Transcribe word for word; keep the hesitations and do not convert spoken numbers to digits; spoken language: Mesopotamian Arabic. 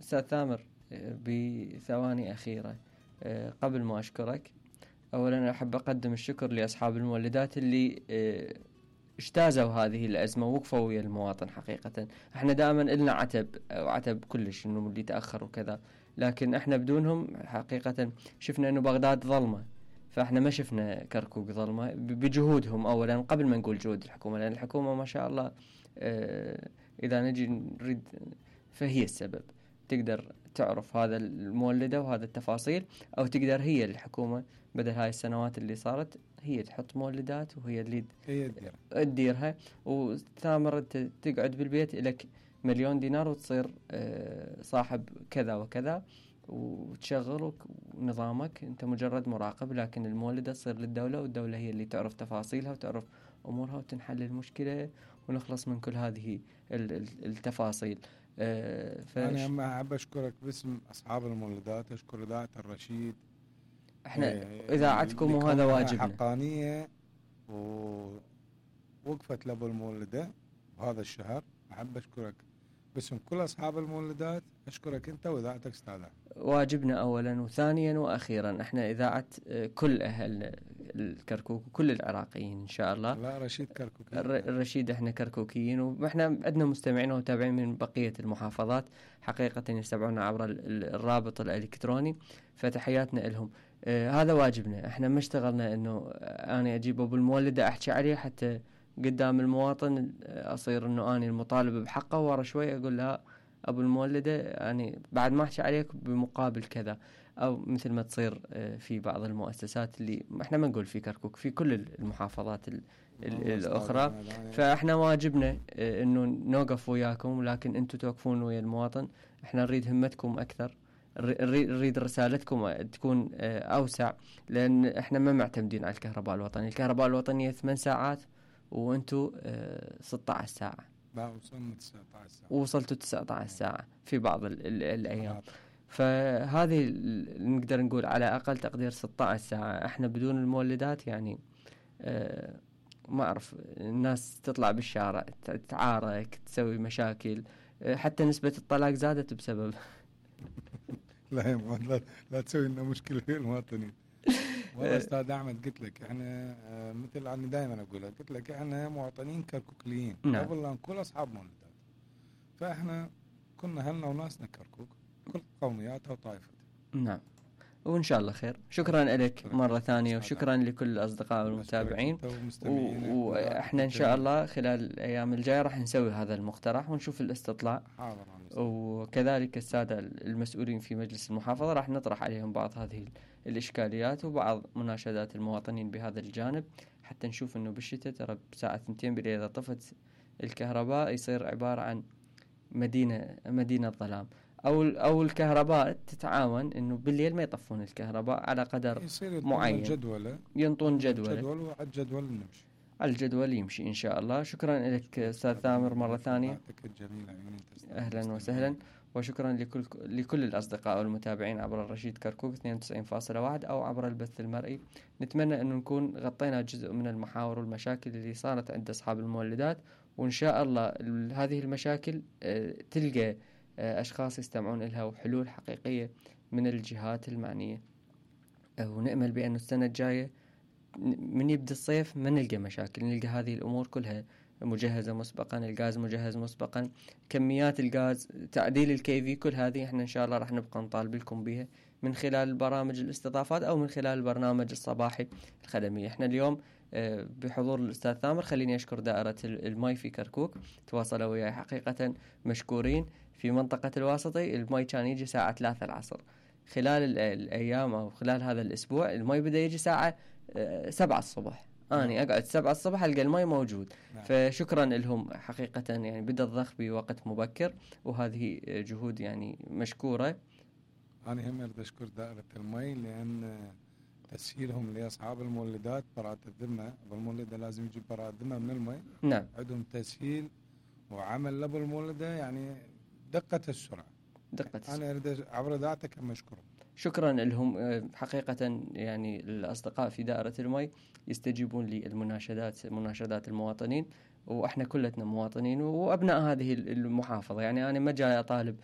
أستاذ ثامر، بثواني أخيرة قبل ما أشكرك، أولا أحب أقدم الشكر لأصحاب المولدات اللي اجتازوا هذه الأزمة ووقفوا ويا المواطن. حقيقة احنا دائما إلنا عتب وعتب كلش انه اللي تأخر وكذا، لكن احنا بدونهم حقيقة شفنا انه بغداد ظلمة، فاحنا ما شفنا كركوك ظلمة بجهودهم أولا قبل ما نقول جهود الحكومة، لأن الحكومة ما شاء الله اه إذا نجي نريد فهي السبب، تقدر تعرف هذا المولدة وهذا التفاصيل، أو تقدر هي الحكومة بدل هاي السنوات اللي صارت هي تحط مولدات وهي اللي هي تديرها, تديرها وثامر تقعد بالبيت لك مليون دينار وتصير صاحب كذا وكذا وتشغل نظامك، انت مجرد مراقب، لكن المولدة تصير للدولة، والدولة هي اللي تعرف تفاصيلها وتعرف أمورها وتنحل المشكلة ونخلص من كل هذه التفاصيل. أه أنا أما أحب أشكرك باسم أصحاب المولدات، أشكر إذاعة الرشيد، احنا اه إذاعتكم وهذا واجبنا، حقانية ووقفت لأبو المولدة بهذا الشهر. أحب أشكرك باسم كل أصحاب المولدات، أشكرك أنت وإذاعتك استاذة. واجبنا أولا، وثانيا وأخيرا احنا إذاعة كل أهل الكركوك وكل العراقيين إن شاء الله. لا رشيد كركوكي، الرشيد احنا كركوكيين، وإحنا عندنا مستمعين ومتابعين من بقية المحافظات حقيقة يتابعونا عبر الرابط الإلكتروني، فتحياتنا لهم. اه هذا واجبنا، احنا ما اشتغلنا انه انا اجيب ابو المولدة احكي عليه حتى قدام المواطن اصير انه اني المطالب بحقه، ورا شوي اقول لا ابو المولدة يعني بعد ما احكي عليك بمقابل كذا، او مثل ما تصير في بعض المؤسسات اللي احنا ما نقول في كركوك، في كل المحافظات ال ال الاخرى. فاحنا واجبنا انه نوقف وياكم، لكن انتم توقفون ويا المواطن، احنا نريد همتكم اكثر، نريد رسالتكم تكون اوسع، لان احنا ما معتمدين على الكهرباء الوطني. الكهرباء الوطنية ثمان ساعات وانتم ستة عشر ساعة، لا وصلنا تسعة عشر ساعة، وصلتوا تسعة عشر ساعة في بعض ال ال الأيام. فهذه نقدر نقول على أقل تقدير ستة عشر ساعة. احنا بدون المولدات يعني اه ما أعرف، الناس تطلع بالشارع تعارك تسوي مشاكل، اه حتى نسبة الطلاق زادت بسبب لا يا مهند، لا, لا تسوي لنا مشكلة في المواطنين. والله استاذ احمد قلت لك احنا اه مثل انا دائما اقولها، قلت لك احنا مواطنين كركوكليين قبل لا نكون اصحاب مولدات، فاحنا كنا هلنا وناسنا كركوك كل قومياتها وطائفتها. نعم، وإن شاء الله خير. شكرا لك مرة ثانية، وشكرا لكل الأصدقاء والمتابعين، وإحنا إن شاء الله خلال الأيام الجاية راح نسوي هذا المقترح ونشوف الاستطلاع، وكذلك السادة المسؤولين في مجلس المحافظة راح نطرح عليهم بعض هذه الإشكاليات وبعض مناشدات المواطنين بهذا الجانب، حتى نشوف إنه بالشتاء ترى بساعة ثنتين بالليل إذا طفت الكهرباء يصير عبارة عن مدينة مدينة ظلام، أو أو الكهرباء تتعاون إنه بالليل ما يطفون الكهرباء على قدر معين، جدولة ينطون جدولة جدول وعلى الجدول نمشي، على الجدول يمشي إن شاء الله. شكرا لك أستاذ ثامر مرة ثانية، أهلا وسهلا، وشكرا لكل لكل الأصدقاء والمتابعين عبر الرشيد كركوك اثنين وتسعين فاصلة واحد أو عبر البث المرئي. نتمنى أن نكون غطينا جزء من المحاور والمشاكل اللي صارت عند أصحاب المولدات، وإن شاء الله هذه المشاكل تلقى أشخاص يستمعون لها وحلول حقيقية من الجهات المعنية، ونأمل بأن السنة الجاية من يبدأ الصيف ما نلقى مشاكل، نلقى هذه الأمور كلها مجهزة مسبقا، الغاز مجهز مسبقا، كميات الغاز، تعديل الكي في، كل هذه احنا إن شاء الله راح نبقى نطالب لكم بها من خلال برامج الاستضافات أو من خلال البرنامج الصباحي الخدمي. احنا اليوم بحضور الأستاذ ثامر خليني أشكر دائرة المي في كركوك، تواصلوا وياي حقيقة مشكورين. في منطقة الواسطي المي كان يجي ساعة ثلاثة العصر، خلال الأيام أو خلال هذا الأسبوع المي بدأ يجي ساعة سبعة الصبح، أنا أقعد سبعة الصبح ألقى المي موجود. نعم. فشكرا لهم حقيقة، يعني بدأ الضخ بوقت مبكر، وهذه جهود يعني مشكورة. أنا هم أريد أشكر دائرة المي لأن تسهيلهم لأصحاب المولدات براءة الذمة، بالمولدة لازم يجيب براءة الذمة من المي. نعم. عندهم تسهيل وعمل لابو المولدة، يعني دقة السرعة، دقة السرعة. أنا أريد عبر ذاتك هم أشكرهم. شكرا لهم حقيقة، يعني الأصدقاء في دائرة المي يستجيبون للمناشدات، مناشدات المواطنين، وإحنا كلتنا مواطنين وأبناء هذه المحافظة، يعني أنا ما جاي أطالب